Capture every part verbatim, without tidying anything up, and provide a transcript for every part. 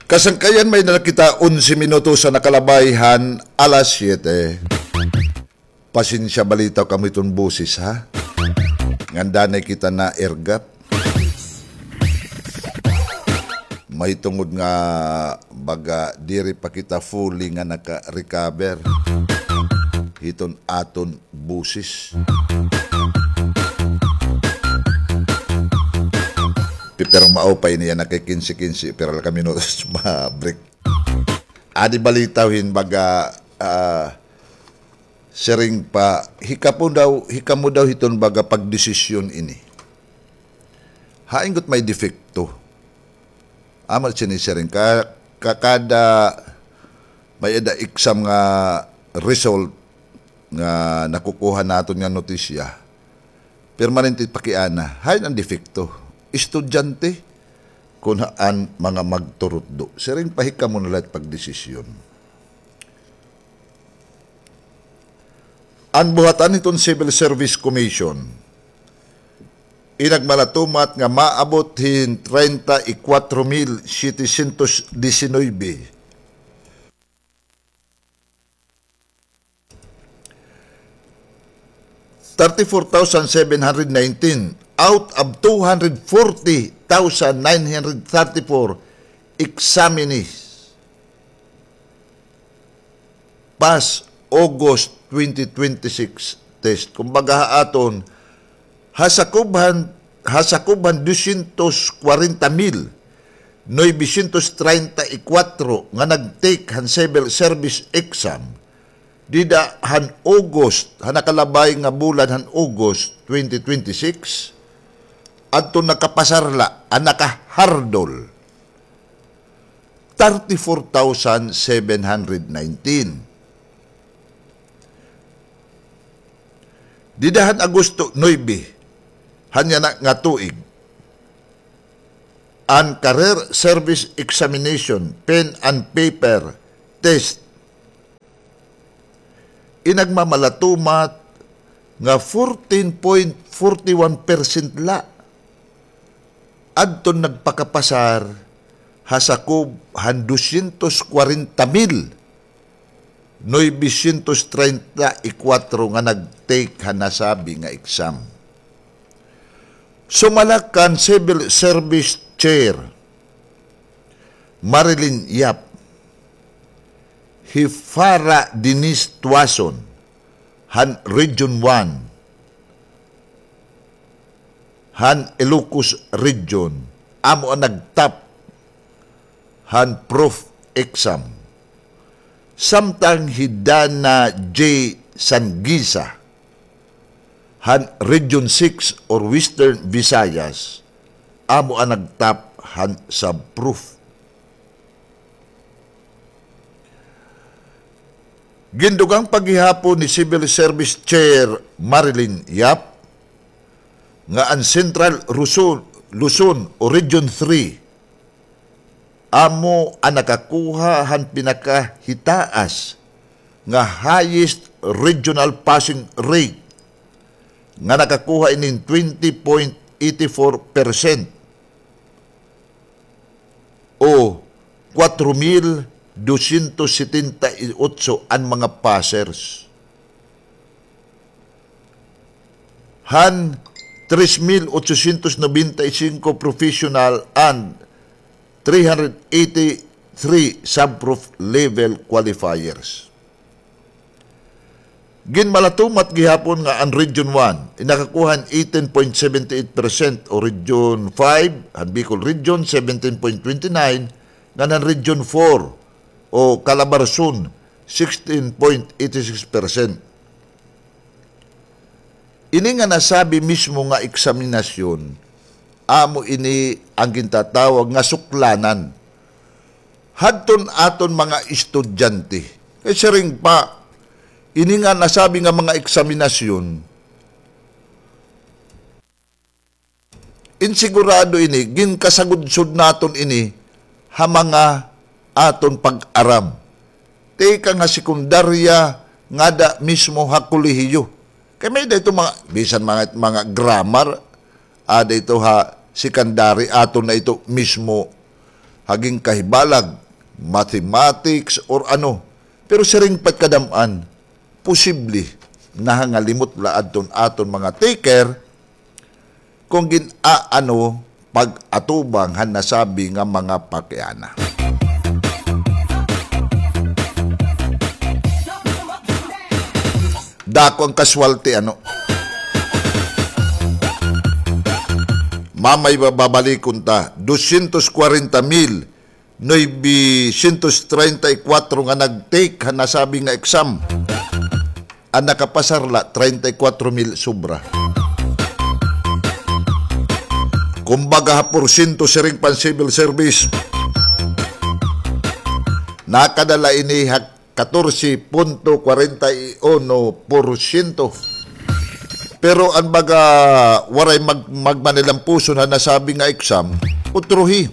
Kasangkayan, may-ada na kita onse minutos an nakalabay han alas siyete. Pasensya, balitaw kamo hiton boses, ha? Ngandanay kita naergat. Mahitungod nga baga diri pa kita fully nga naka-recover hiton aton boses. Pi-, pero maupay niya, naka-kinse-kinse, pero la kami no ma-break. Adi balitaw hin baga, ah, siring pa, hikamo daw, hikamo daw hiton baga pagdesisyon ini. Hain gud may depekto. Amo sini siring ka, ka-, kada may-ada exam nga result nga nakukuha naton nga notisya, permanente pakiana. Hain an depekto? Estudyante, kun an mga magturutdo? Siring pa, hikamo na la it pagdesisyon. An buhatan hiton Civil Service Commission, inagmalatumat nga maabot hin treinta y cuatro mil setecientos diecinueve, thirty-four thousand seven hundred nineteen out of two hundred forty thousand nine hundred thirty-four examinees pass August twenty twenty-six test. Kumbaga, ha aton, ha sakob han, ha sakob han dosyentos kwarenta mil novecientos treinta y cuatro nga nag-take han civil service exam dida han August, han nakalabay nga bulan han August twenty twenty-six, adto nakapasar la, an nakahardol, thirty-four thousand seven hundred nineteen. Dida han Agosto nuebe han yana nga tuig, an Career Service Examination, Pen and Paper Test, inagmamalatumat nga fourteen point forty-one percent la adton nagpakapasar ha sakob han dosyentos kwarenta mil novecientos treinta y cuatro nga nag-take han nasabi nga exam. Sumala kan Civil Service Chair Marilyn Yap, hi Farah Denise Tuason han Region one han Ilocos Region, amo an nag-top han prof exam. Samtang hi Dana J Sangiza han Region six or Western Visayas, amo an nag-top han sub-prof. Gindugang pa gihapon ni Civil Service Chair Marilyn Yap nga an Central Luzon, Luzon o Region three amo an nakakuha han pinakahitaas nga highest regional passing rate nga nakakuha ini hin twenty point eighty four percent o kwatro mil dosyentos setenta y otso an mga passers. Han tres mil otsosyentos nobenta y singko professional and three hundred eighty-three sub-prof level qualifiers. Ginmalatumat gihapon nga an Region one, nakakuha hin eighteen point seventy-eight percent, o Region five, han Bicol Region, seventeen point twenty-nine, ngan han Region four, o Calabarzon, sixteen point eighty-six percent. Ini nga nasabi mismo nga eksaminasyon, amo ini an gintatawag nga suklanan hadton aton mga estudyante. Kay siring pa, ini nga nasabi nga mga eksaminasyon, insigurado ini, ginkasagudsod naton ini ha mga aton pag-aram. Tikang ha sekundarya ngada mismo ha kolehiyo. Kay may-ada ito mga, bisan mga, mga grammar, ada ito ha secondary, aton na ito mismo hagin kahibalag, mathematics, or ano. Pero siring pa it kadam-an, posible nahangalimot la adton aton mga taker kon gin-aano pag-atubang han nasabi nga mga pakiana. Dako an kaswalti, ano? Mamay ba-, babalikon ta, dosyentos kwarenta mil noybesyentos treinta y kuwatro nga nag-take han nasabi nga exam. An nakapasar la, treinta y kuwatro mil sobra. Kumbaga, ha porsyento, siring pa an civil service, nakadala ini ha katorse punto kwarenta y uno porsyento. Pero an baga waray mag-, magmanilampuson han nasabi nga exam, utrohi.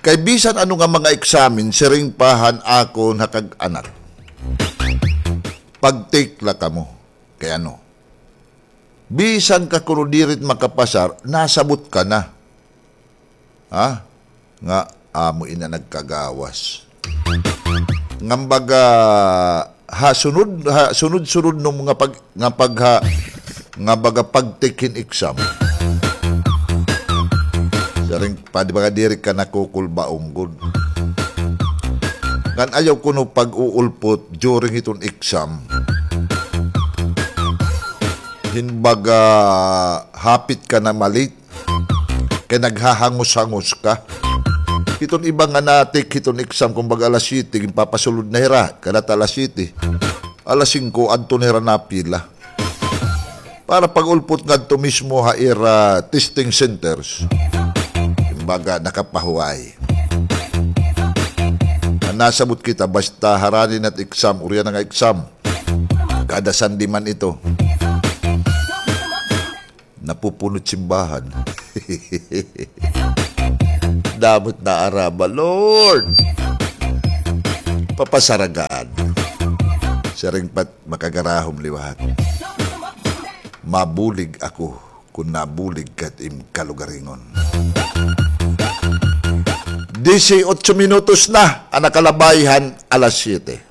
Kay bisan ano nga mga eksamen, siring pa han akon ha kag-anak, pag-take la kamo. Kay ano? Bisan ka kuno diri it makapasar, nasabot ka na. Ha? Nga amo ina nagkagawas. Ngan baga, ha sunod, ha sunod-sunod no nga pag-, nga pag-, ha, nga baga pag-take hin exam. Siring pa, di ba nga diri ka nakukulbaon gud. Ngan ayaw kuno pag-uulpot during hiton exam. Hin baga hapit ka na ma-late. Kay naghahangos-hangos ka. Hiton iba nga na-take hiton exam, kumbaga alas siyete, ginpapasulod na hira, kada ta alas siyete. Alas singko, adto na hira napila. Para pag-ulpot ngadto mismo ha ira testing centers. Kumbaga, nakapahuway. An nasabot kita, basta harani na it exam, urian na nga exam. Kada Sunday man ito. Napupuno it simbahan. Damo it naaraba, Lord. Papasaragaan. Siring pa it makagarahom liwat. Mabulig ako kon nabulig ka it im kalugaringon. Disiotso minutos na an nakalabay han alas siyete.